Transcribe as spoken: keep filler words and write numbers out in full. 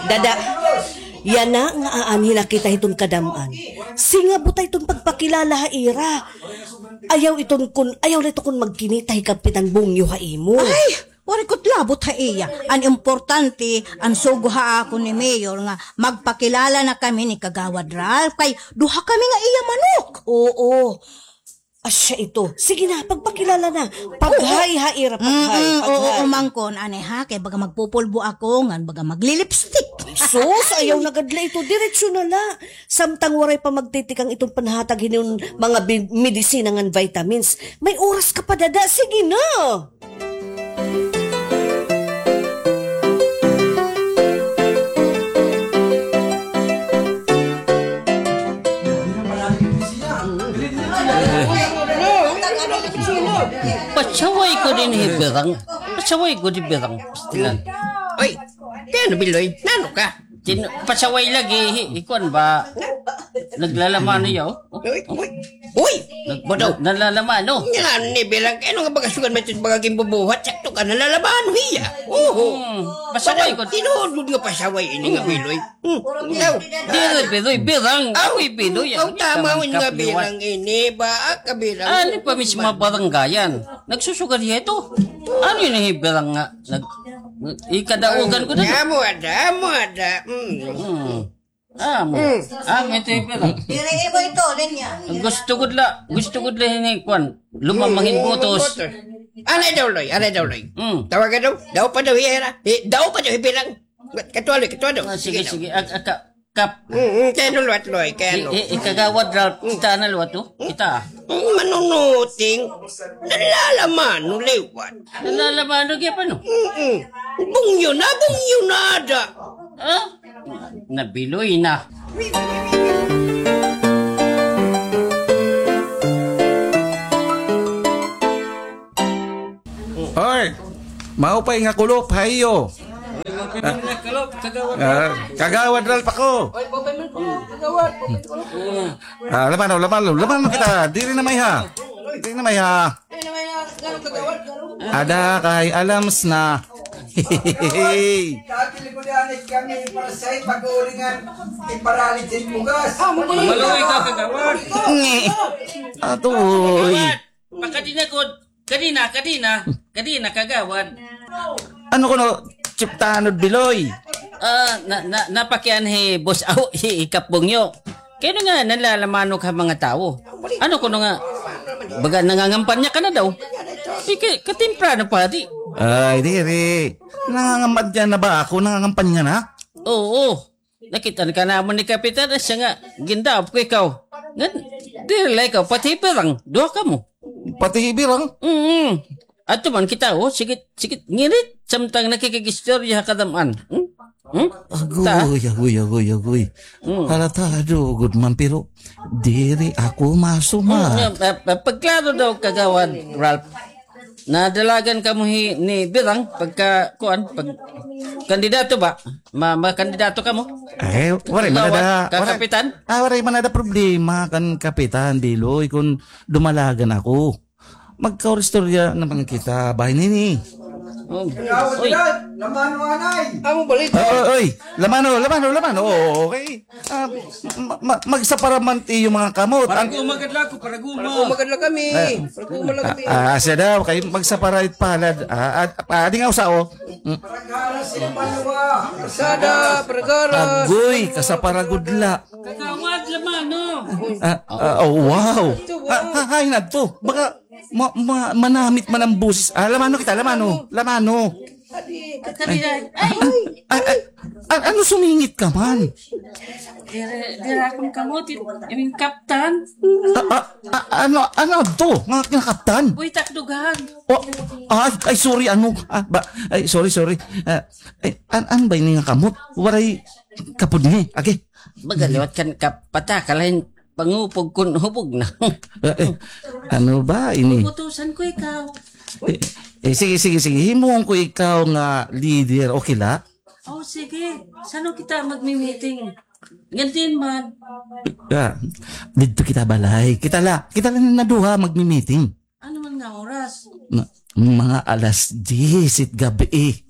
Dada, yana nga aanhi na kita hiton kadam-an. Singabota iton pagpakilala ha ira. Ayaw iton kun, ayaw la ito kun magkinita hi Kapitan Bungyo ha imo. Ay, waray ko labot ha iya. An importante, an sugo ha akon ni Mayor nga magpakilala na kami ni Kagawad Ralph kay duha kami nga iya manok. Oo. Asya ito. Sige na, pagpakilala na. Paghay ha ira, paghay, oo, paghay. Umangkon, anay ha, kay baga magpupulbo ako, ngan baga maglilipstick. Sus, ayaw na gad la ito. Diretso na la. Samtang waray pa magtitikang iton panhatag hinon mga bi-, medisina ngan vitamins. May oras ka pa, dada. Sige na. Pasaway ko dinhi, Birang. Pasaway ko dinhi, Birang. Pastilan. Oy, kay ano, Biloy? Nano ka? Tin-, pasaway lagi, hi-, ikuan ba? Naglalamano yaw? Uy, uy, uy! Nag-, nalalaman, no? Yan ni Birang, kay ano nga baga sugad man ito baga ginbubuhat, sakto ka, nalalaman hiya. Oho. Hmm, pasaway ko. Tinuod nga pasaway ini nga Biloy. Hmm, ikaw. Diri, Biloy, Birang. Aw, ako'y Biloy, aw, tama nga Birang ini ba? Ah, kabirang. Ano pa mismo barangayan? Nagsusugal hiya ito. Ano ini hi Birang nga? Nag-, ikadaugan ko na. Amo ada, amo ada. Hmm. Hmm. Ah, mo. Hmm. Ah, may tape lang. Diri ibo ito, linya. Gusto gud la, gusto gud la hini, kwan. Lumamangin butos. Anay daw, Loy, anay daw, Loy. Hmm. Tawagan daw, daw pa daw hiya, eh, daw pa daw hi Birang. Katuwa, Loy, katuwa daw. Ah, sige, sige. Ak-, ak-, kap. Hmm, hmm, kay ano, luwat, Loy, kay ano. I-, i-, ikagawad, Ralph, kita na luwat, oh. Kita. Hmm, manunuting. Nalalamano liwat. Nalalamano, kaya pa, no? Hmm, hmm. Bungyo na, bungyo na, da. Ah? Nabiloy na. Hoy, maupay nga kulop ha iyo. Ah, Kagawad Ralph ako. Ah, lamano, lamano, lamano kita. Diri na may ha. Diri na may ha. Ada kay alams na. Dati likudanik kami para sa pag-uulingan, iparalit sa bugas. Ah, maluwi ka, Kagawad. Ngi. Atoy. Makadinagod. Kadina, kadina. Kadina, Kagawad. Ano kuno, Chip Tanod Biloy? Ah, na, na, napakianhi, boss, aw, hi Ikap Bungyo. Kay ano nga, nalalamanok ha mga tawo. Ano kuno nga, baga nangangampanya ka na daw? Sige, katimprano pa, di. Ay, diri. Nangangampanya na ba ako? Nangangampanya na? Oo. Nakita ka namon ni Kapitan, siya nga, gindap ko ikaw. Ngan, diri la ikaw, pati hi Birang, duha kamo. Pati hi Birang? Mm. Ato man kita, oh, sige, sige, ngirit, samtang nakikig-istorya ha kadam-an. Hmm? Hmm? Agoy, agoy, agoy, agoy. Hmm. Halatado gud man, pero diri ako masumat. Hmm, nga, pa-, pa-, pagklaro daw, Kagawad Ralph. Nadalagan kamo hi-, ni Birang pagka, kuan, pag kandidato ba? Ma-, makandidato kamo? Eh, waray man ada, kakapitan? Ah, waray man ada problema kan Kapitan Biloy kun dumalagan ako. Magkauristorya naman kita, bahin hini. Oh. Oy. Lamano, anay. Amo balita. Oy, oy, oy. Lamano, lamano, lamano. Oo, okay. Ah, ma-, ma-, magsapara man it iyo mga kamot. Paraguma gad la ako, paraguma. Paraguma gad la kami. Eh. Paraguma la kami. Ah, ah, siya daw, kay magsapara it palad. Ah, ah, ah, di nga usa, oh. Mm. Paragara sa Ipanwa. Karsada, paragara. Agoy, kasapara gud la. Kagawad, lamano. Ah, ah, oh, wow. Ito, wow. Ah, ah, ay, nadto. Baka Ma-, ma-, manamit man an boses. Ah, lamano kita, lamano. Lamano. Ay, ay, ay, ay, ano sumingit ka man? Diri, diri akon kamot, it-, iton kaptan. Ah, ah, ah, ano, ano to? Nga kinakaptan? Uy, takdugan. Oh, ay, ay, sorry, ano? Ah, ba, ay, sorry, sorry. Ah, ay, an-, an ba ini nga kamot? Waray kapudngi. Agi. Baga liwat kan kapata, kalain pangupog kun hubog na. Eh, eh, ano ba ini? Puputusan ko ikaw. Eh, eh, sige, sige, sige. Himuon ko ikaw nga leader. Okay la? Oh, sige. San-o kita magmi-meeting? Ngantin man. Ah, didto kita balay. Kita la, kita la nga duha magmi-meeting. Ano man nga oras? Na, mga alas diyes it gab-i.